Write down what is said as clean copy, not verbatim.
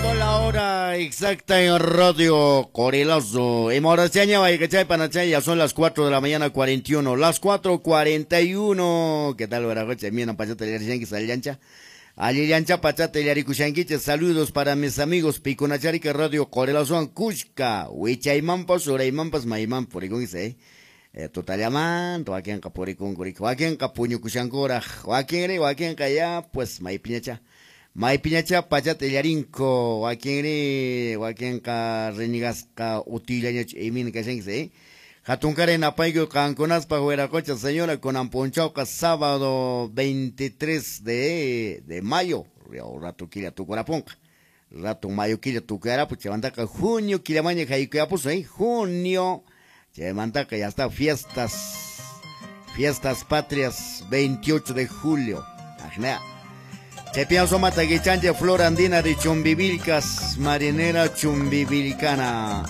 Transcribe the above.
Punto la hora exacta en Radio Corelazo. Y ya son las 4 de la mañana 41. Las 4:41. ¿Qué tal, Veracocha? Mira, pachata, sallancha. Allillancha pachata illaricushanquiche. Saludos para mis amigos Picunacharica Radio Corelazo Cusca. Wichaymampas, Uraymampas, Maymampas, puricunse. Tutallamanto, wakinqa purikunkurik, wakinqa puñukushankuraq, wakinri, wakinqa ya, pues maypiñacha. Maypiñacha pachata illarinko, wakinri, wakinqa renigasqa utillañachu imin kashankish, Hatunkaray napayku qankunaspaq wiraqocha señora kunan punchawqa sábado 23 de mayo, rato killa tukurapunqa. Rato mayo killa tukarapu, chaymantaqa junio killamaña haykuyapusun, junio, chaymantaqa ya está fiestas patrias 28 de julio. Ajna. Chaypian sumata guichanche Flor Andina de Chumbivilcas, marinera chumbivilcana.